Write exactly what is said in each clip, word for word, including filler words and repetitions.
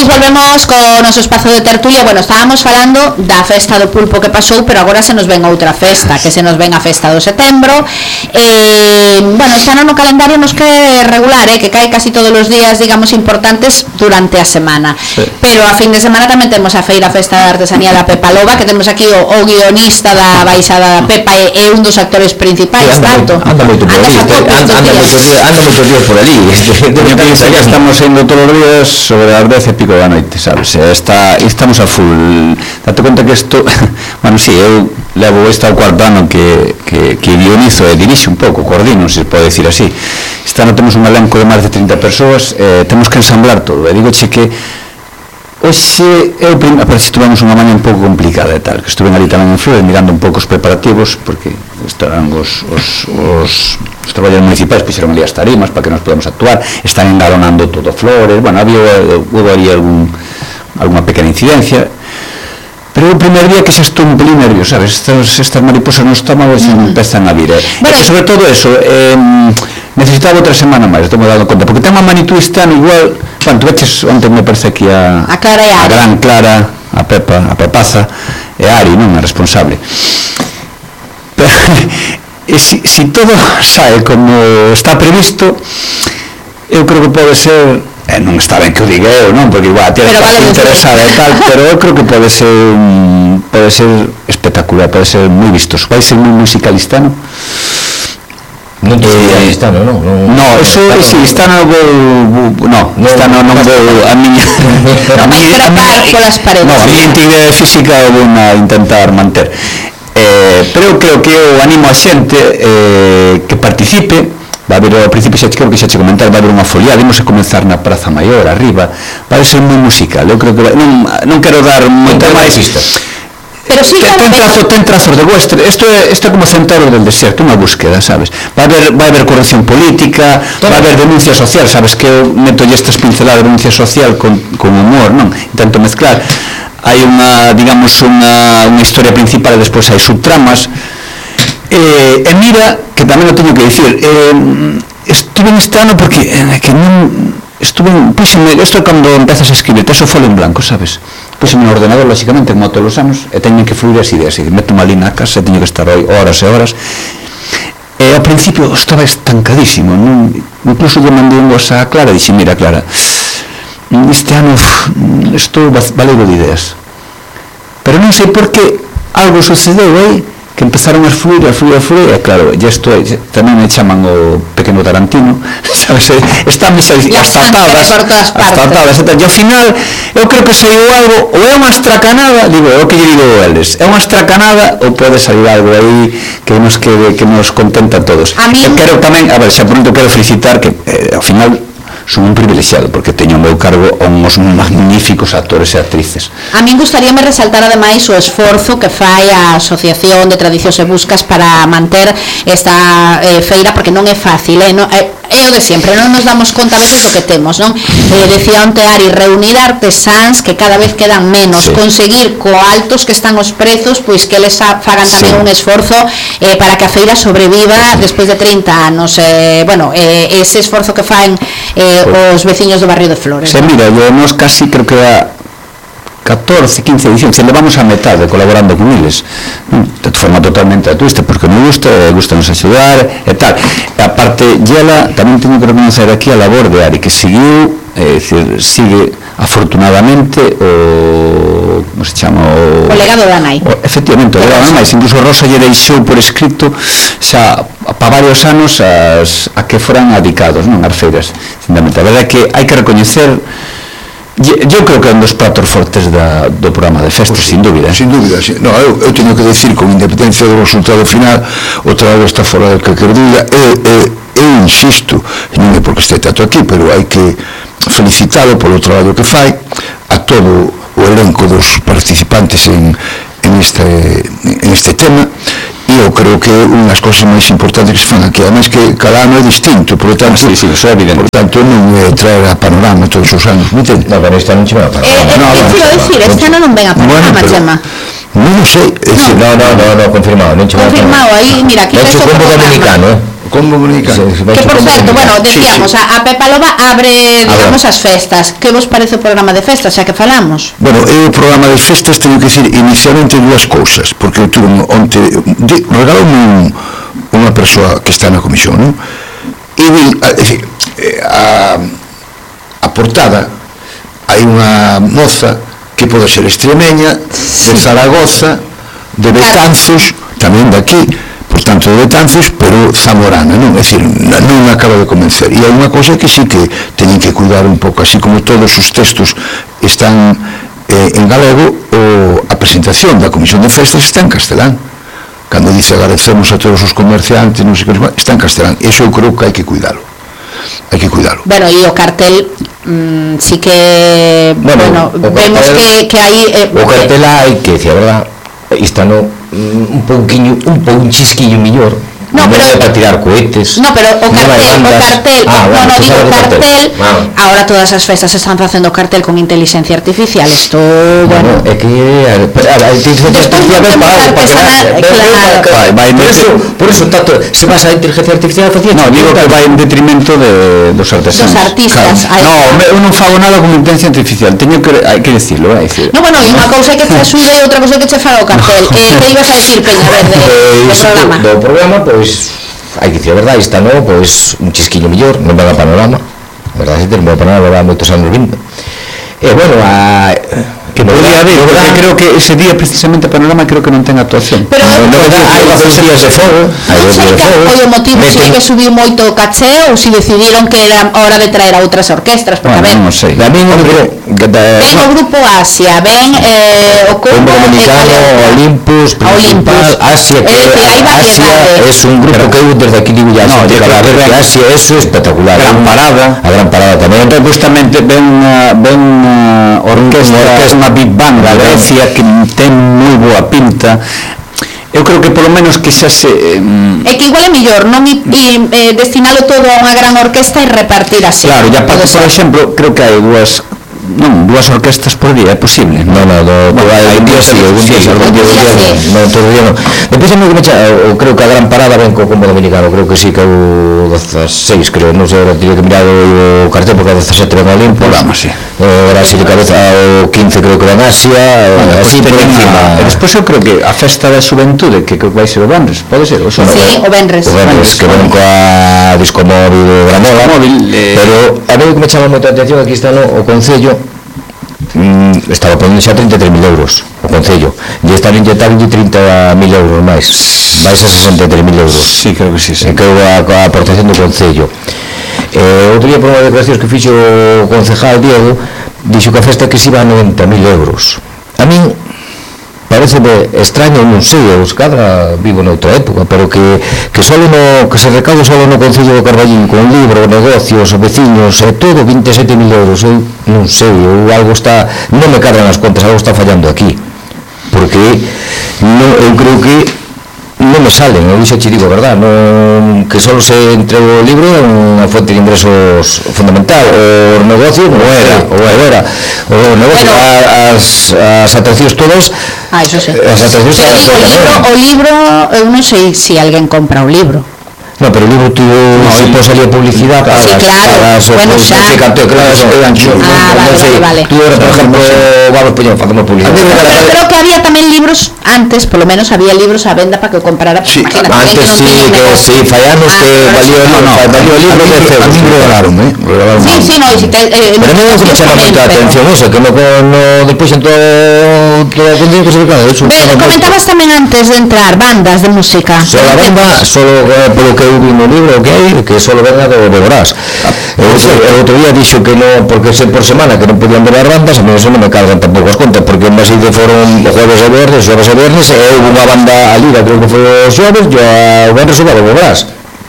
pois volvemos co noso espazo de tertulia. Bueno, estábamos falando da festa do pulpo que pasou, pero agora se nos ven outra festa, que se nos ven a festa do setembro. Eh, bueno, este ano no calendario nos que regular, eh, que cae casi todos os días, digamos, importantes durante a semana. Sí. Pero a fin de semana tamén temos a feira Festa da Artesanía da Pepa Loba, que temos aquí o, o guionista da baixada da Pepa e, e un dos actores principais, sí, anda, anda moito por ali, anda, anda moitos días, anda moitos días por ali. Ya estamos indo todos os días sobre as dez e pico da noite, sabes? Está, estamos a full. Date conta que isto, bueno, si, sí, eu levo este ao cuarto ano que, que, que guionizo e dirixe un pouco, coordino, se pode decir así. Este ano temos un elenco de máis de trinta persoas, eh, temos que ensamblar todo, e digoche que hoxe, eu, a parece que tuvemos unha maña un pouco complicada e tal, que estuve ali tamén en Flores mirando un pouco os preparativos, porque estarán os, os, os, os traballadores municipais fixeron ali as tarimas para que nos podamos actuar, están engalonando todo Flores, bueno, había, hubo ali algún, alguna pequena incidencia, pero o primer día que xa estou un pelín nervioso, sabes, estas, estas mariposas no estómago xa mm. empezan a vir, eh. Bueno, e sobre todo eso, eh, necesitaba outra semana máis, estou me dando conta, porque ten unha manitud este ano igual, bueno, tu veches onde me parece aquí a, a, Clara e a, a gran Clara, a Pepa, a Pepaza e a Ari, non, a responsable. Pero, e si, si todo sae como está previsto, eu creo que pode ser, eh, non está ben que o diga eu, non, porque igual tiene que estar interesada e tal, pero eu creo que pode ser pode ser espectacular, pode ser moi vistoso, vai ser moi musicalistano. Non te eh, está, no, no, no, no, eso si está no vou, no, no, está no non vou a miña a miña polas paredes. No, a miña integridade física vou a intentar manter. Eh, pero eu creo que eu animo a xente eh, que participe. Va a haber, ao principio xa creo que xa che comentar, va a haber unha foliada, imos a comenzar na Praza Maior arriba, vai ser moi musical. Eu creo que vai, non, non quero dar moita máis. Pero sí, ten, ten, trazo, ten trazos de western, isto é, isto é como Centauro del Desierto, unha búsqueda, sabes? Vai haber, vai haber corrección política, vai haber denuncia social, sabes que eu meto estas pinceladas de denuncia social con, con humor, non? Intento mezclar. Hai unha, digamos, unha, unha historia principal e despois hai subtramas. Eh, e mira, que tamén o teño que dicir, eh, estuve neste ano porque eh, que non estuve, puxeme, isto é cando empezas a escribir, te eso folo en blanco, sabes? Puxeme no ordenador, lógicamente, como todos os anos, e teñen que fluir as ideas, e meto unha lina a casa, e teño que estar aí horas e horas, e ao principio estaba estancadísimo, non? Incluso eu mandei un voz a Clara, e dixi, mira Clara, este ano estou valego de ideas, pero non sei por que algo sucedeu aí, que empezaron a fluir, a fluir, a fluir, e claro, ya esto é, tamén me chaman o pequeno Tarantino, sabes, están as tatadas, as tatadas, e ao final, eu creo que saiu algo, ou é unha estracanada, digo, é o que lle digo a eles, é unha estracanada, ou pode salir algo aí que nos, que, que nos contenta a todos. A mí... Eu quero tamén, a ver, xa pronto quero felicitar que, eh, ao final, son un privilexiado, porque teño ao meu cargo uns magníficos actores e actrices. A min gustaríame resaltar ademais o esforzo que fai a Asociación de Tradicións e Buscas para manter esta eh, feira, porque non é fácil, eh, non, eh, é o de sempre, non nos damos conta a veces do que temos, non? Eh, decía onte Ari, reunir artesáns que cada vez quedan menos, sí. Conseguir co altos que están os prezos, pois que eles fagan tamén sí. Un esforzo eh, para que a feira sobreviva sí. Despois de trinta anos, eh, bueno, eh, ese esforzo que fan eh, os veciños do barrio de Flores. Se, ¿no? Mira, yo nos casi creo que a catorce, quince edicións, se levamos a metade colaborando con eles, de forma totalmente altruista, porque me gusta, gusta nos axudar e tal. E aparte, Yela, tamén teño que reconocer aquí a labor de Ari, que seguiu, é dicir, sigue afortunadamente o, como se chama, o, o legado da nai. O, efectivamente, o legado da nai, incluso Rosa lle deixou por escrito xa para varios anos as, a que foran adicados, non, as feiras. A verdade é que hai que recoñecer. Eu creo que é un dos platos fortes da, do programa de festas, pues, sin dúbida. Sin dúbida, sí. No, eu, eu teño que decir, con independencia do resultado final, o traballo está fora de calquer dúbida, e, e, eu insisto, non é porque este tanto aquí, pero hai que felicitalo polo traballo que fai, a todo o elenco dos participantes en, en, este, en este tema, e eu creo que unhas cousas máis importantes que se fan aquí, además que cada ano é distinto, por tanto, sí, sí, eso é evidente. Por tanto, non é traer a panorama todos os anos, non entende? No, pero este ano non che ven a panorama. Eh, no, eh, quero dicir, este ano non ven a panorama, bueno, Chema. Non o sei, no, no, no, no, confirmado, non che ven a panorama. Confirmado, aí, mira, aquí está o combo dominicano, eh? Combo dominicano. Sí, Que por certo, bueno, decíamos, sí, sí. A, a Pepa Loba abre, digamos, as festas. Que vos parece o programa de festas, xa que falamos? Bueno, eu o programa de festas teño que dicir inicialmente dúas cousas, porque eu tuve onte, regaloume un, unha persoa que está na comisión, non? E vi, a, decir, a, a portada, hai unha moza que pode ser extremeña, de Zaragoza, de Betanzos, tamén daqui, por tanto de Betanzos, pero zamorana, non? É dicir, non me acaba de convencer. E hai unha cosa que sí que teñen que cuidar un pouco, así como todos os textos están eh, en galego, o, a presentación da Comisión de Festas está en castelán. Cando dice agradecemos a todos os comerciantes, non sei que, está en castelán. Eso eu creo que hai que cuidalo. Hai que cuidalo. Bueno, e o cartel mmm, sí que bueno, bueno vemos cartel, que, que hai eh, o cartel hai que, decía, verdad, está no un pouquiño, un pouco un chisquillo millor. No, no, pero é para tirar cohetes. No, pero o cartel, no o cartel, ah, no, bueno, no digo cartel, cartel ah. Ahora todas as festas están facendo cartel con inteligencia artificial, isto, bueno, bueno é que a, a inteligencia artificial é para que claro, vai por eso, por eso tanto, se pasa a inteligencia artificial facía. No, digo que vai en detrimento de dos artesanos. Dos artistas. Claro. No, eu non fago nada con inteligencia artificial, teño que hai que decirlo, hai decir. No, bueno, e unha cousa que te axude e outra cousa que che faga o cartel. Eh, que ibas a decir, Peña, a ver, de, do programa? Do programa, pois hai que dicir a verdade, está no, pois un chisquiño mellor, non vai a panorama, a verdade, se termo a panorama vai moitos anos vindo. E bueno, a que podría haber, porque creo que ese día precisamente a panorama creo que non ten actuación. Pero no, no, hai dos días de fogo, hai dos días de fogo. O motivo se que subiu moito o caché ou se decidiron que era hora de traer a outras orquestras, porque bueno, a ver, non sei. A mí non creo ven o grupo Asia, ven eh, o Combo Dominicano, Olympus, Principal, Asia, que Asia es un grupo que eu desde aquí digo ya, no, que Asia, eso es espectacular. Gran Parada, a Gran Parada tamén. Entón, justamente ven unha ven unha orquestra, unha big band da Grecia que ten moi boa pinta. Eu creo que polo menos que xa se eh, é que igual é mellor non i, i, eh, destinalo todo a unha gran orquesta e repartir así. Claro, e aparte, por exemplo, creo que hai dúas non, dúas orquestas por día, é posible? Non, non, do, bueno, hai día sí, algún día sí, algún día sí, non, todo día non. Depois moi que me cha, o, creo que a Gran Parada ven co Combo Dominicano, creo que sí, que o dezasseis, creo, non sei, ahora tiña que mirar o cartel, porque a dezasete ven o Olympus, programa, sí. Ahora sí de cabeza, o quince creo que ven Asia, bueno, así por encima. E despois eu creo que a festa da xuventude, que creo que vai ser o Benres, pode ser? O sí, o Benres. O Benres, que ven coa disco móvil de Gramola, pero a ver que me chama moita atención, aquí está no, o Concello, mm, estaba ponendo xa trinta e tres mil euros o Concello, e están inyectando trinta mil euros máis, vais a sesenta e tres mil euros. Sí, creo que sí, sí. E creo a, a aportación do Concello. Eh, outro día por unha declaración que fixo o concejal Diego, dixo que a festa que se iba a noventa mil euros. A min pareceme extraño, non sei, os cadra vivo noutra época, pero que que solo no, que se recaude solo no Concello do Carballín con libro, negocios, veciños e todo veinte e sete mil euros. Eu non sei, eu algo está, non me cargan as contas, algo está fallando aquí, porque non, eu creo que non me salen, eu xa che digo, verdad, non, que solo se entrega o libro é unha fonte de ingresos fundamental, o negocio non era, o era, o negocio, bueno, as, as atraccións todas, ah, eso sí. As atraccións todas, o, libro, o libro, eu non sei se alguén compra o libro. No, pero o libro tuvo, no, sí, pues salía publicidade para, sí, claro, para, para bueno, xa. Cantó, claro, ah, vale, vale, vale. Tú ahora, por ejemplo, vamos, pues, facemos publicidade. Pero creo que había tamén libros antes, polo menos había libros a venda para que o comprara, sí, imagínate, antes sí, que sí, fallamos que valió, no, no, valió o libro de cero. A mí me regalaron, eh, regalaron. Sí, sí, no, y si te, eh, pero non me chama moita atención eso, que no, no despois en todo todo o contenido que se claro, eso. Comentabas tamén antes de entrar bandas de música. Solo a banda, solo polo que eu vi no libro que hai, que solo venga do Beborás. O outro día dixo que non, porque se por semana que non podían ver as bandas, a mí eso non me cargan tampouco as contas, porque en Maside foron o jueves e viernes, xoves e viernes, e houve unha banda a Liga, creo que foi os xoves, e o viernes o Beborás.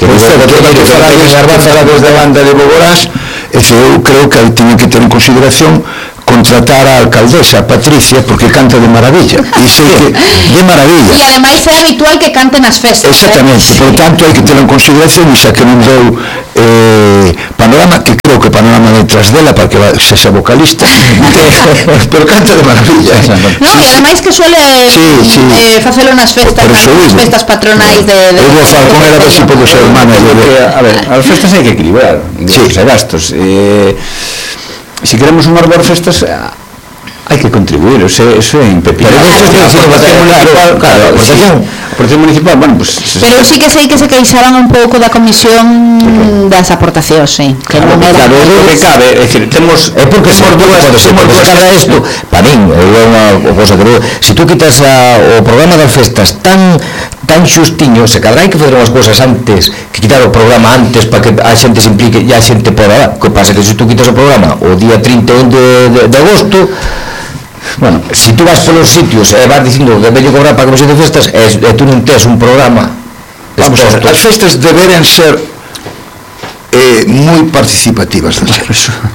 Que non sei, que hai que falar as bandas da banda de Beborás, eu creo que tiñen que ter en consideración contratar a alcaldesa, a Patricia, porque canta de maravilla. E sei que de maravilla. E ademais é habitual que cante nas festas. Exactamente, por tanto hai que ter en consideración e xa que non deu eh, Panorama, que creo que Panorama detrás dela para que sexa vocalista, pero canta de maravilla. Non, e ademais que suele sí, sí. eh, facelo nas festas, nas festas patronais de... Eu vou falar con ela a ver se podo ser manager. A ver, as festas hai que equilibrar ingresos e gastos. Eh, se queremos unhas boas festas, hai que contribuir, eso, eso é impepinable. Claro, claro, a aportación municipal, bueno, pues... Pero sí que sei que se queixaban un pouco da comisión das aportacións, sí. Que claro, non era... Claro, é o que cabe, é dicir, temos... É porque temos dúas, temos dúas cada isto, para min, é unha cosa que... Se tú quitas a, o programa das festas tan tan xustiño, se cadra hai que fazer unhas cousas antes, que quitar o programa antes para que a xente se implique e a xente poda, que pasa que se tú quitas o programa o día trinta e un de, de, de agosto, bueno, se tú vas polos sitios e vas dicindo que vello cobrar para a comisión de festas e, e tú non tes un programa, vamos a ver, as festas deberían ser eh, moi participativas da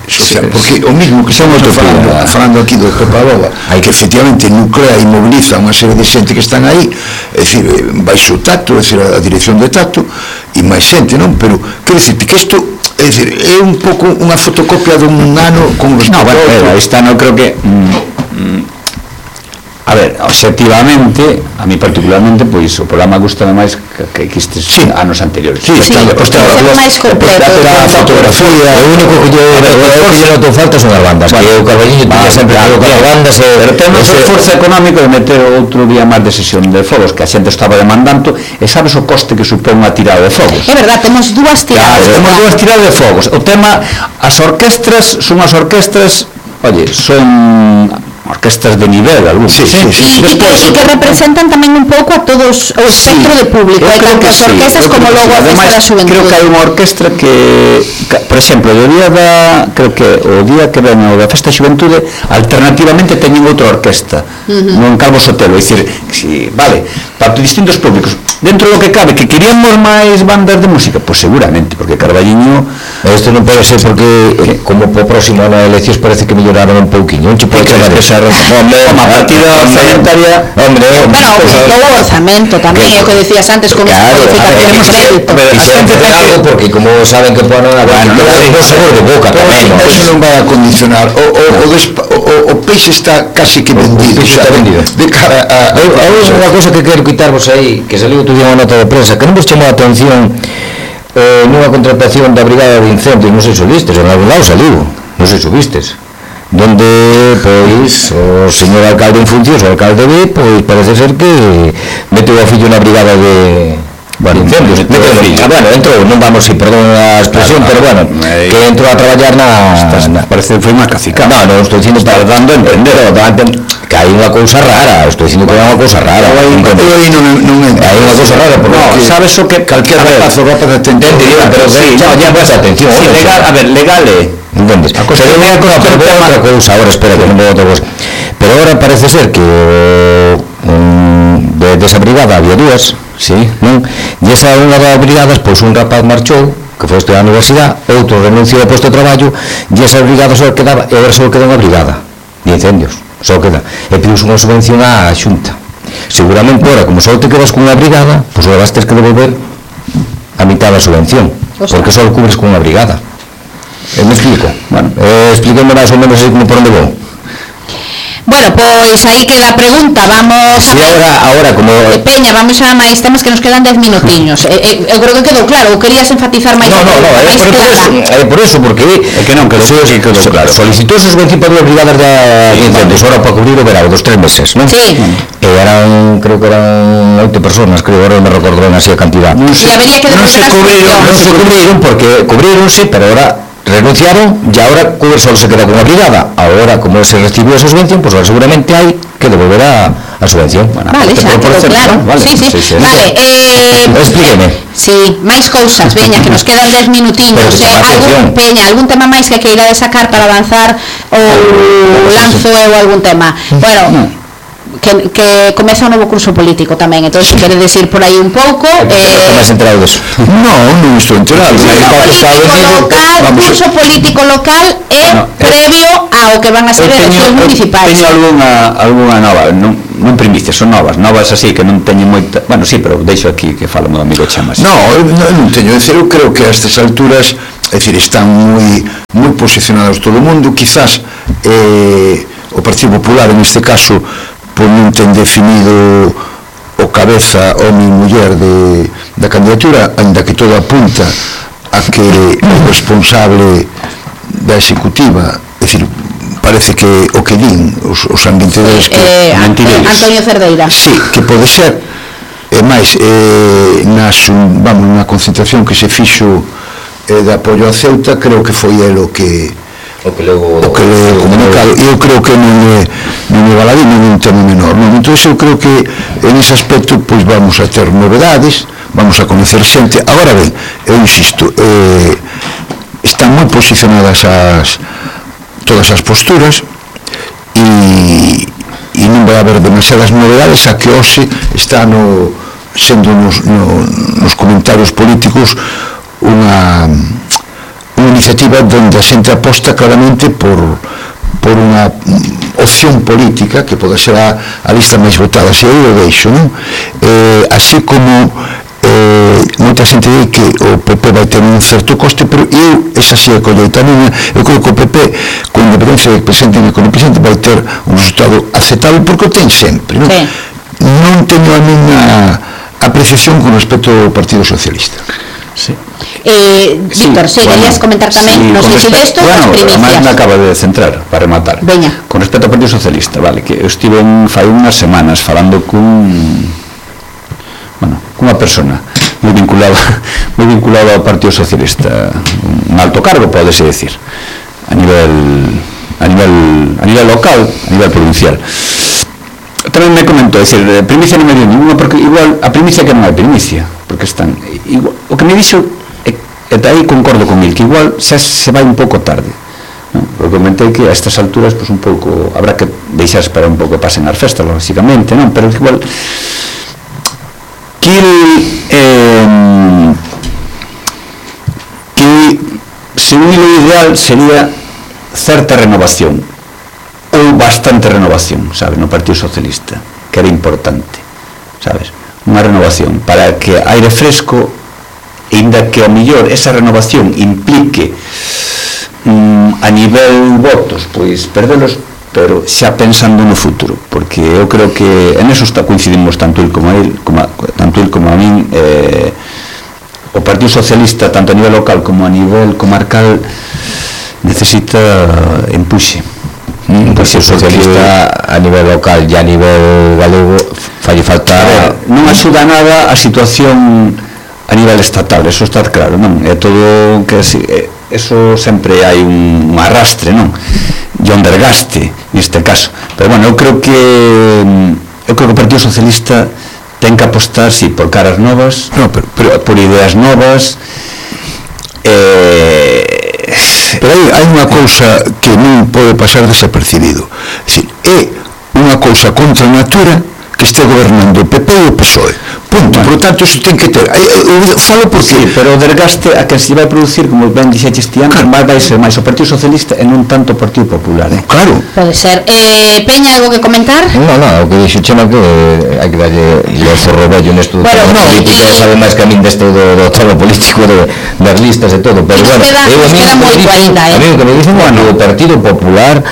social, porque o mismo que estamos falando, falando aquí do Copaboba, que efectivamente nuclea e moviliza unha serie de xente que están aí, é dicir, baixo o tacto, é dicir, a dirección de tacto e máis xente, non? Pero, quero dicirte que isto é dicir, é un pouco unha fotocopia dun ano con respecto no, bueno, a outro. Esta no creo que mm, mm, a ver, objetivamente a mí particularmente, pois o programa gusta máis que, que estes sí. anos anteriores. Sí, sí, pois está máis completo. A fotografía, o único que yo non te falta son as bandas, que o Carballiño tiña sempre que as bandas, pero temos o esforzo económico de meter outro día máis de sesión de fogos que a xente estaba demandando, e sabes o coste que supón unha tirada de fogos. É verdad, temos dúas tiradas. Temos dúas tiradas de fogos. O tema, as orquestras son as orquestras, oye, son orquestas de nivel, algún. Sí, sí, sí. E que, que representan tamén un pouco a todos o espectro sí, de público, hai tanto as orquestas sí, como logo a Festa da Xuventude. Creo que hai unha orquestra que, que por exemplo, o día da, creo que o día que ven o da Festa da Xuventude, alternativamente teñen outra orquesta, uh-huh. non Calvo Sotelo, é dicir, si, vale, para distintos públicos. Dentro do que cabe, que queríamos máis bandas de música, pois pues seguramente, porque Carballiño, isto non pode ser porque eh, como po próximo na eleccións parece que melloraron un pouquiño, non che pode chamar esa hombre, a partida orzamentaria, hombre, bueno, o orzamento tamén, é o que decías antes, con esa modificación de crédito. Fixeron facer algo porque como saben que ponen a ver, non sabor de boca tamén. Eso non vai a condicionar, o peixe está casi que vendido, está vendido. De cara a... Unha cosa que quero quitarvos aí, que saliu outro día unha nota de prensa, que non vos chamou a atención nunha contratación da Brigada de Incendios, non sei se vistes, en algún lado saliu, non sei se vistes, donde, pois, o señor alcalde en funcións, o alcalde B, pois, parece ser que meteu a fillo na Brigada de... Bueno, incendios, ah, bueno, entrou, non vamos a ir, perdón a expresión, claro, pero bueno, eh, que entrou a traballar na... Estás, na parece que foi unha cacicada. No, non, estou dicindo, está dando a entender, que hai unha cousa rara, estou dicindo que hai unha cousa rara. Eu aí non entendo. Hai unha cousa rara, porque... No, sabes o que... Calquer rapazo, rapazo de atender, pero ya presta atención. Sí, legal, a ver, legal é... Entendes? Pero unha cousa, pero outra cousa, agora, espera, que non vou outra cousa. Pero agora parece ser que de esa brigada había dúas, sí, non? E esa unha das brigadas, pois un rapaz marchou, que foi estudar a universidade, outro renunciou ao posto de traballo, e esa brigada só quedaba, e agora só queda unha brigada de incendios, só queda, e pidiu unha subvención á Xunta. Seguramente agora, como só te quedas con unha brigada, pois agora vas ter que devolver a mitad da subvención, porque só cubres con unha brigada. E me explico? Bueno, eh, explíquenme máis ou menos como por onde vou. Bueno, pois aí queda a pregunta, vamos sí, a ahora, ahora como... Eh, Peña, vamos a máis temas que nos quedan dez minutiños. eh, eh, eu creo que quedou claro, ou querías enfatizar máis? No, no, no, é por, por, eso, é por eso, porque é que non, que so, sí, quedou so, claro. Solicitou sus subvención para dúas brigadas de incendios, ahora para cubrir o verano dos tres meses, non? Sí. E eran, creo que eran oito personas, creo, ahora non me recordo ben así a cantidad. Non se, e que non se cubriron, non se cubriron, porque cubrironse, pero ahora renunciaron e ahora solo se queda con unha brigada. Ahora, como se recibiu esa subvención, pues ahora seguramente hai que devolver a, a subvención. Bueno, vale, xa, quedou claro. Vale, sí, sí. Sí, sí, vale, eh, explíqueme. Sí, máis cousas, veña, que nos quedan dez minutiños. Eh, algún, Peña, algún tema máis que queira de sacar para avanzar ou lanzo eu algún tema? Bueno, que, que comeza un novo curso político tamén, entón se quere decir por aí un pouco. Eh, máis enterado deso? Non, non estou enterado. Curso político local, curso político local é previo ao que que van a ser eleccións municipais. Teño algunha, algunha nova, non, non primicias, son novas, novas así que non teño moita, bueno, sí, pero deixo aquí que fala o meu amigo Chamas. No, non teño, é dicir, eu creo que a estas alturas, é dicir, están moi moi posicionados todo o mundo, quizás eh, o Partido Popular en este caso pois non ten definido o cabeza, home e muller de, da candidatura, ainda que todo apunta a que o responsable da executiva, é dicir, parece que o que din os, os ambientadores que eh, Antonio Cerdeira, sí, que pode ser, e máis eh, nas, vamos, na concentración que se fixo eh, de apoio a Ceuta, creo que foi el o que o que lego o que le comunicado, eu creo que non é non é baladí, non é un tema menor, non? Entón eu creo que en ese aspecto pois vamos a ter novedades, vamos a conocer xente. Agora ben, eu insisto, eh, están moi posicionadas as todas as posturas e, e non vai haber demasiadas novedades, a que hoxe está no, sendo nos, no, nos comentarios políticos unha unha iniciativa onde a xente aposta claramente por, por unha opción política que pode ser a, a lista máis votada, se eu o deixo, non? Eh, así como eh, moita xente di que o P P vai ter un certo coste, pero eu, esa sí é colleita minha, eu creo que o P P, con independencia de presente e con o presente, vai ter un resultado aceptable, porque o ten sempre, non? Sí. Non teño a miña apreciación con respecto ao Partido Socialista. Sí. Eh, Víctor, sí, bueno, querías comentar tamén, sí, non sei se desto, bueno, as primicias. Además me acaba de centrar, para rematar. Veña. Con respecto ao Partido Socialista, vale, que eu estive en, fai unhas semanas falando cun, bueno, cunha persona moi vinculada, moi vinculada ao Partido Socialista, un alto cargo, podese decir, a nivel, a nivel, a nivel local, a nivel provincial. Tamén me comentou, decir, primicia non me dio ninguna, porque igual a primicia que non é primicia, porque están igual, o que me dixo e, e aí concordo con el, que igual xa se vai un pouco tarde, non? Porque comentei que a estas alturas pues, un pouco habrá que deixar esperar un pouco que pasen as festas, lógicamente, non? Pero igual que eh, que según o ideal sería certa renovación ou bastante renovación, sabes, no Partido Socialista, que era importante, sabes, unha renovación para que aire fresco, ainda que a mellor esa renovación implique mm, a nivel votos, pois perdelos, pero xa pensando no futuro, porque eu creo que en eso está, coincidimos tanto el como el, como a, tanto el como a min, eh, o Partido Socialista tanto a nivel local como a nivel comarcal necesita empuxe. Un Partido Socialista a nivel local e a nivel galego fai falta, non axuda nada a situación a nivel estatal, eso está claro, non? É todo que eso sempre hai un arrastre, non? E un desgaste neste caso, pero bueno, eu creo que eu creo que o Partido Socialista ten que apostar, sí, por caras novas, no, pero, pero, por ideas novas, eh, pero hai, hai unha cousa que non pode pasar desapercibido, é dicir, é unha cousa contra a natura que este gobernando o P P e o P S O E, punto, bueno. Por tanto, iso ten que ter, eu falo porque sí, pero o desgaste a que se vai producir, como ben dixeches ti antes, claro. Vai ser máis o Partido Socialista e non tanto o Partido Popular, eh? Claro. Pode ser. Eh, Peña, algo que comentar? Non, non, o que dixo Chema que hai que darlle o forro vello nesto bueno, do no, política, e sabe máis que a min desto do, do tramo político de, das listas e todo, pero bueno, queda, eu a mí queda moito ainda, eh? A mí o que me dicen, bueno, o Partido Popular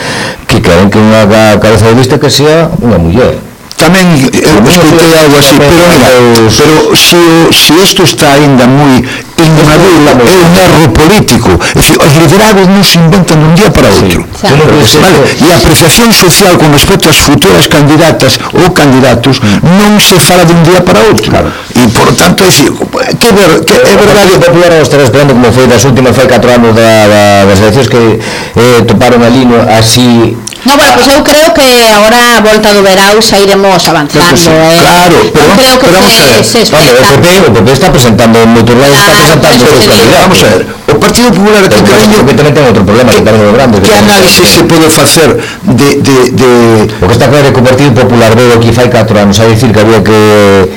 que queren que unha cabeza de lista que sea unha muller. Tamén eu escoitei algo así, pero mira, pero se si isto está ainda moi inmaduro, é un erro político, é dicir, os liderados non se inventan dun día para outro, sí, vale? E a apreciación social con respecto ás futuras candidatas ou candidatos non se fala dun día para outro, claro. E por tanto, é dicir, que, ver, que é verdade. O Popular estará esperando como foi das últimas, foi catro anos da, da, das eleccións que eh, toparon ali no, así. No, bueno, pues eu creo que agora a volta do verao xa iremos avanzando, sí, eh. Claro, pero, creo que pero vamos a ver, se espera. O P P, o P P está presentando en moitos lados, está presentando o candidato. Vamos a ver, o Partido Popular aquí creño que tamén ten outro problema, que tamén é grande. Que análisis se pode facer de, de, de... O que está claro é que o Partido Popular veo aquí fai catro anos a dicir que había que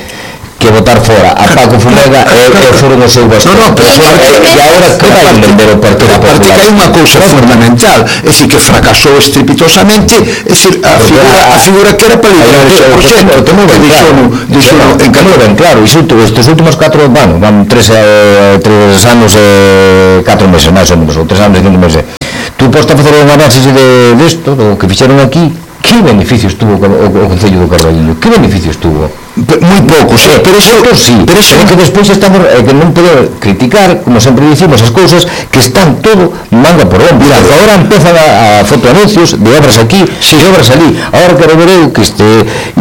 que botar fora a Paco Fumega e e foron os seus bastón. No, no, pero e agora que vai vender o Partido Popular? Aparte que hai unha cousa fundamental, é dicir, que fracasou estrepitosamente, é dicir, a figura, a figura que era para liderar ese proxecto, que dixono en Canadá. Ben claro, iso estes últimos catro, bueno, van tres anos e catro meses, máis ou menos, ou tres anos e cinco meses. Tú podes facer un análisis de isto, do que fixeron aquí. Que beneficios tuvo o Concello do Carballiño? Que beneficios tuvo? Moi poucos, eh, pero eso sí, pero eso é que despois estamos eh, que non podemos criticar, como sempre dicimos, as cousas que están todo manga por hombro. Mira, agora empezan a, a fotoanuncios de obras aquí, sí. de obras ali. Agora que revereu que este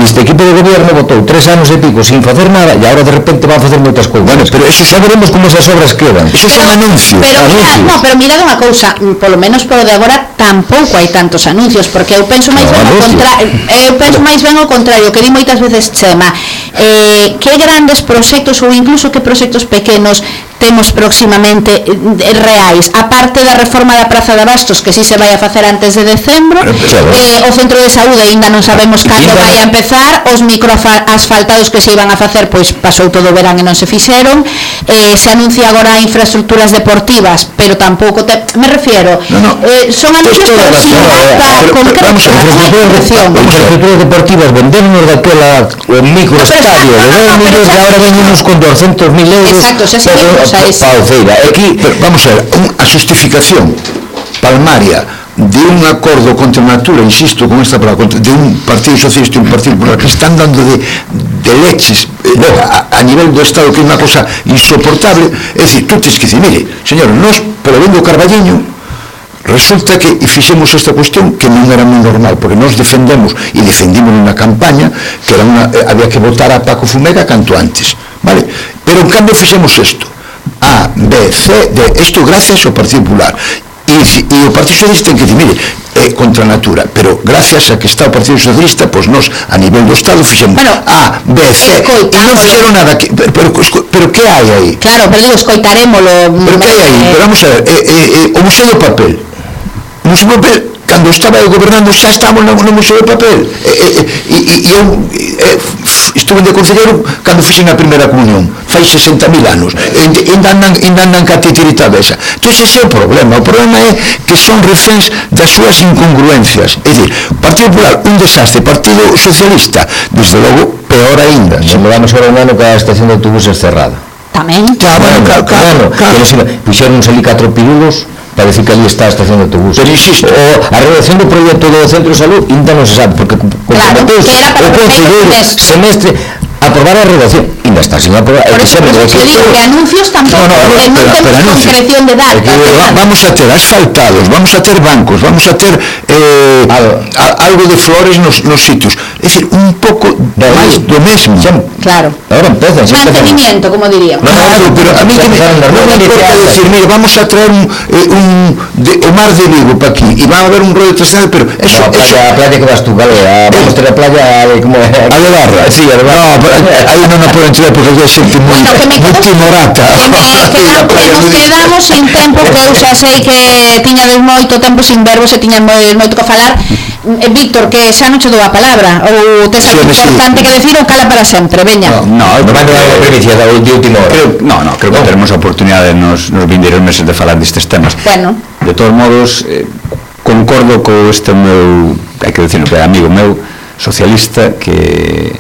este equipo de gobierno botou tres anos e pico sin facer nada e agora de repente van a facer moitas cousas. Bueno, pero eso xa veremos como esas obras quedan. Eso son anuncios. Pero mira, no, pero mirad unha cousa, polo menos polo de agora tampouco hai tantos anuncios, porque eu penso máis ben o contrario, eu penso máis ben o contrario, que di moitas veces Chema. Eh, que grandes proxectos ou incluso que proxectos pequenos temos próximamente eh, reais, aparte da reforma da Praza de Abastos, que si se vai a facer antes de decembro, eh, o centro de saúde ainda non sabemos cando vai a empezar, os microasfaltados que se iban a facer, pois pasou todo o verán e non se fixeron, eh, se anuncia agora infraestructuras deportivas, pero tampouco te, me refiero, no, no. Eh, son anuncios pero sin data concreta. Infraestructuras deportivas, vendernos daquela microestadio de dez millones e agora venimos con doscientos mil euros. Exacto, xa seguimos a ese. Aquí, vamos a ver, a justificación palmaria de un acordo contra a natura, insisto con esta palabra, de un partido socialista e un partido popular que están dando de, de leches eh, a, a nivel do Estado, que é unha cosa insoportable, é dicir, tú tens que dicir, mire, señor, nós, polo ben do Carballiño, resulta que fixemos esta cuestión que non era moi normal, porque nós defendemos e defendimos na campaña que era una, eh, había que votar a Paco Fumega canto antes, vale? Pero en cambio fixemos isto A, B, C, D, isto gracias ao Partido Popular e, e o Partido Socialista ten que dicir, mire, é contra a natura, pero gracias a que está o Partido Socialista, pois nós a nivel do Estado fixemos bueno, A, B, C e non fixeron nada que, pero, pero, pero que hai aí? Claro, pero digo, escoitarémolo. Pero que hai aí? Pero vamos a ver, eh, eh, o Museo do Papel o Museo do Papel, cando estaba eu gobernando xa estábamos no, no Museo do Papel e eu eh, estuve de concelleiro cando fixen a primeira comunión fai sesenta mil anos e ainda andan, andan ca titirita desa. Entón ese é o problema, o problema é que son reféns das súas incongruencias, é dicir, Partido Popular un desastre, Partido Socialista desde logo peor ainda. Se me vamos ahora un ano que a estación de autobuses cerrada tamén claro, claro, claro, claro. Puxeron ali catro pirulos para decir que ali está a estación de autobús. Pero insisto, o a redacción do proxecto do Centro de Salud ainda non se sabe, porque claro, que era para o concelleiro semestre aprobar a redacción, ainda está sin aprobar. Por eso, por eso digo que anuncios tampouco, no, no, no, non temos concreción de datos. Vamos a ter asfaltados, vamos a ter bancos, vamos a ter eh, algo de flores nos, nos sitios. É dicir, un pouco máis do mesmo. Claro. Ahora empezan. Mantenimiento, como diríamos. Claro, pero a mí que me non me importa decir, mire, vamos a traer un, eh, un de, o mar de Vigo para aquí e va a haber un rollo tradicional, pero eso, no, a playa, eso, a playa que vas tú, vale, a, vamos a ter a playa de como a de Barra. Sí, a de Barra. No, aí non a poden entrar porque hai xente moi moi timorata. Que nos quedamos sin tempo, que eu xa sei que tiñades moito tempo sin verbo, se tiñan moito que falar. Víctor, que xa non che dou a palabra, ou tes algo importante que decir ou cala para sempre, veña. No, non vai dar a primicia da última hora. No, no, creo que teremos a oportunidade nos vindeiros meses de falar destes temas. Bueno. De todos modos, eh, concordo co este meu, hai que decirlo, que é amigo meu, socialista, que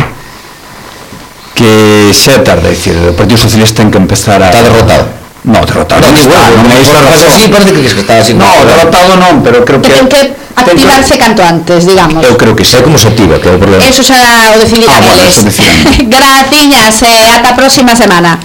que xa é tarde, dicir, o Partido Socialista ten que empezar a... Está derrotado. No, derrotado non está, non é isto a razón. Sí, parece que está así. No, derrotado non, pero creo que... Ten que activarse canto antes, digamos. Eu creo que sei como se activa, que é o problema. Eso xa o decidirán eles. Graciñas, e ata a próxima semana.